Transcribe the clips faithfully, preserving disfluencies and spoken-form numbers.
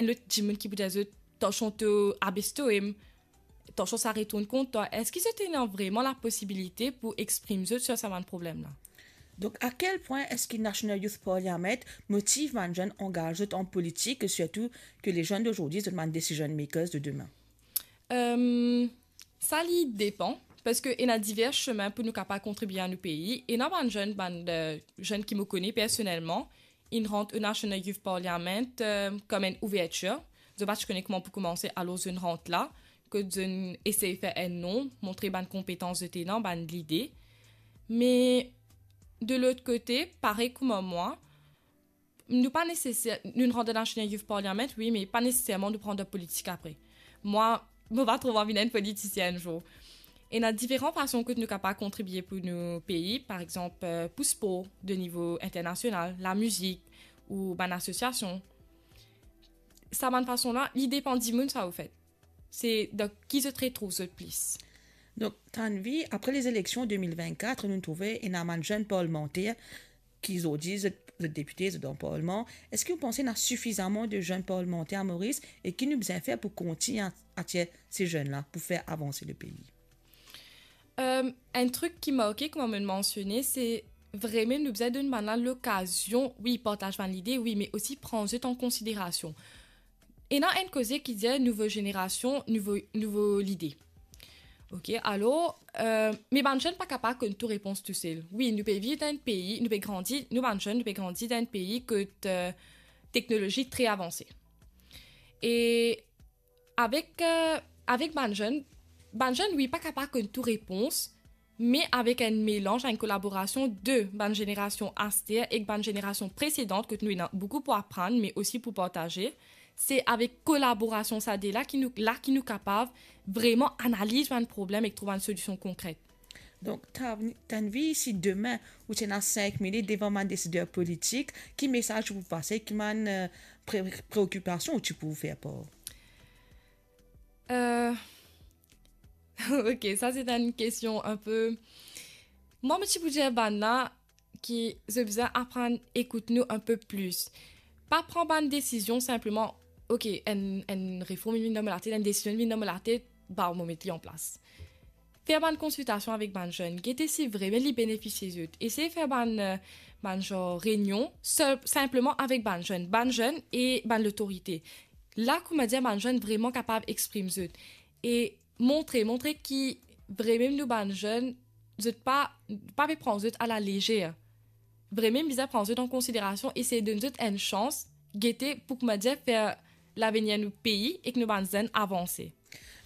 enn lot dimoun ki pou dir zot, "Tansion to abes to, tansion sa retourn kont twa." Eski zot ena vreman laposibilite pou exprim zot sir sa bann problem la? Donc, à quel point est-ce que National Youth Parliament motive bann zenn angaz zot an politik, sirtou ke les jeunes d'aujourd'hui, zot bann decision makers de demain? Euh, sa li depan, parski ena diver semin pou nou kapav kontribie a nou pei. Ena bann zenn, bann, euh, zenn ki mo kone personelman, inn rant o National Youth Parliament, euh, kom enn ouvertir. Zot pa ti kone kouma pou koumanse, alor zot inn rant la, kot zot inn esey fer enn nom, montre bann konpetans zot ena, bann lide. Me de lot kote, parey kouma mwa, nou pa neseser, nou rant dan National Youth Parliament, wi, me pa neseserman nou pou rant dan politik apre. Mwa, mo pa trouv anvi vinn enn politisien enn zour. Ena diferan fason kot nou kapav kontribie pou nou pei, par exanp, euh, pou spor de nivo internasional, lamizik ou bann asosiasion. Sa bann fason la, li depan dimoun sa, ofet. Se dan ki zot retrouv zot plis. Donc, Tanvi, après les élections deux mille vingt-quatre, nou trouve ena bann zenn parlimanter ki zordi zot, zot depite, zot dan parlman. Eski ou panse ena sifizaman de zenn parlimanter a Moris e ki nou bizin fer pou kontign a-, atir se zenn la pou fer avanse le pei? Euh, enn trik ki marke, kouma mo mansione, se vremem nou bizin donn bann la lokazion, wi, partaz bann lide, wi, me osi pran zot an konsiderasion. Ena enn koze ki dir nouvo zenerasion, nouvo, nouvo lide. Ok, alor, euh, me bann zenn pa kapav konn tou repons tousel. Wi, nou pe viv dan enn pei, nou pe grandi, nou bann zenn, nou pe grandi dan enn pei kot, euh, teknolozi tre avanse. E avek, euh, avek bann zenn, bann zenn, wi, pa kapav konn tou repons, me avek enn melanz, enn kolaborasion de bann zenerasion aster ek bann zenerasion presedan, kot nou ena boukou pou aprann, me osi pou partaze, se avek kolaborasion sa de la ki nou, la ki nou kapav vreman analiz bann problem ek trouv bann solision konkret. Donc, Tan-, Tanvi, si demin ou ti ena sink minit devan bann desider politik, ki mesaz ou pou pase, ki bann, euh, pre-, preokipasion ou ti pou fer par? Euh, ok, sa se enn kestion enn pe, mwa, mo ti pou dir bann la ki zot bizin aprann ekout nou enn pe plis. Pa pran bann desizion sinpleman, ok, enn, enn reform vinn dan mo latet, enn desizion vinn dan mo latet, ba, mo met li an plas. Fer bann konsiltasion avek bann zenn, gete si vremem li benefisie zot. Esey fer bann, euh, bann zanr reynion, sel, sinpleman avek bann zenn, bann zenn e bann lotorite. La, kouma dir, bann zenn vreman kapav exprim zot. E montre, montre ki vremem nou bann zenn, zot pa, pa pe pran zot a la lezer. Vremem bizin pran zot an konsiderasion, esey donn zot enn sans, gete pou, kouma dir, fer lavenir nou pei ek nou bann zenn avanse.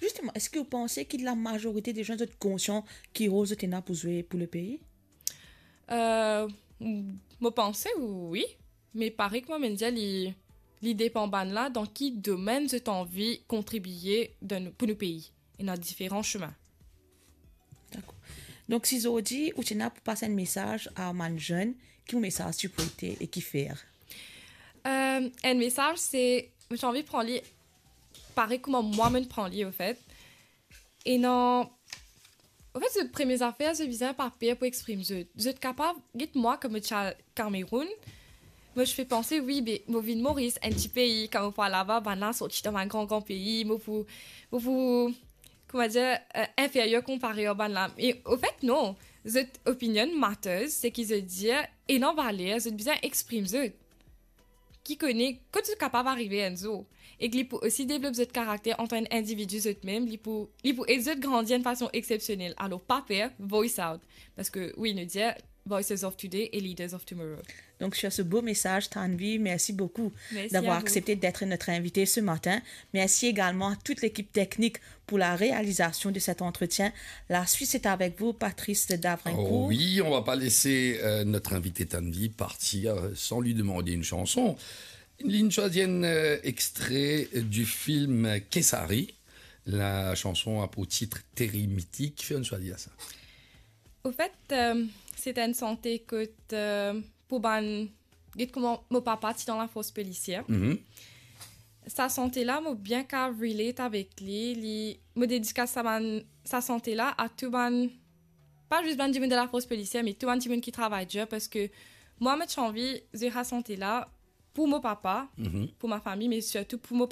Zisteman, eski ou panse ki lamazorite de zenn zot konsian ki rol zot ena pou zwe pou le pei? Euh, mo panse wi, me parey kouma mo dir, li, li depan bann la dan ki domenn zot anvi kontribie dan nou, pou nou pei. Ena diferan semin. Dakor. Donk, si zordi ou ti ena pou pas enn mesaz a bann zenn, ki mesaz ti pou ete e kifer? Euh, enn mesaz, se, mo ti anvi pran li parey kouma mwa mo pran li, ofet. Ena, ofet, zot premie zafer, zot bizin pa per pou exprim zot. Zot kapav, get mwa, kan mo ti al Kameroun, mo ti pe panse, wi, be, mo vinn Moris, enn ti pei, kan mo pou al laba, bann la sorti dan bann gran, gran pei, mo pou, mo pou, kouma dir, euh, inferyer konpare ar bann la. E, ofet, non, zot opinion matters, seki zot dir ena valer, zot bizin exprim zot. Ki kone kot zot kapav arive enn zour. Ek li pou osi devlop zot karakter antan enn individi zotmem, li pou, li pou ed zot grandi enn fason exepsionel. Alor, pa per, voice out. Parski, wi, nou dir, Voices of Today e Leaders of Tomorrow. Donc, sur ce beau message, Tanvi, merci beaucoup d'avoir accepté d'être notre invitée ce matin. Merci également à toute l'équipe technique pour la réalisation de cet entretien. La suite, c'est avec vous, Patrice Davrincourt. Oh oui, on va pas laisser, euh, notre invitée Tanvi partir, euh, sans lui demander une chanson. Li inn swazir enn, euh, extrait du film Kesari. La chanson a pour titre Terre mythique. Fer nou swazir sa. Ofet, euh, se enn sante kot, euh, pou bann, get kouma mo papa ti dan lafors polisier. Mhm. Sa sante la, mo bien kapav relate avek li. Li, mo dedikas sa bann, sa sante la a tou bann, pa zis bann dimoun dan lafors polisier, me tou bann dimoun ki travay dir, parski mwa, mo ti anvi zwe sa sante la pour mon papa, pour ma famille, mais surtout pour mon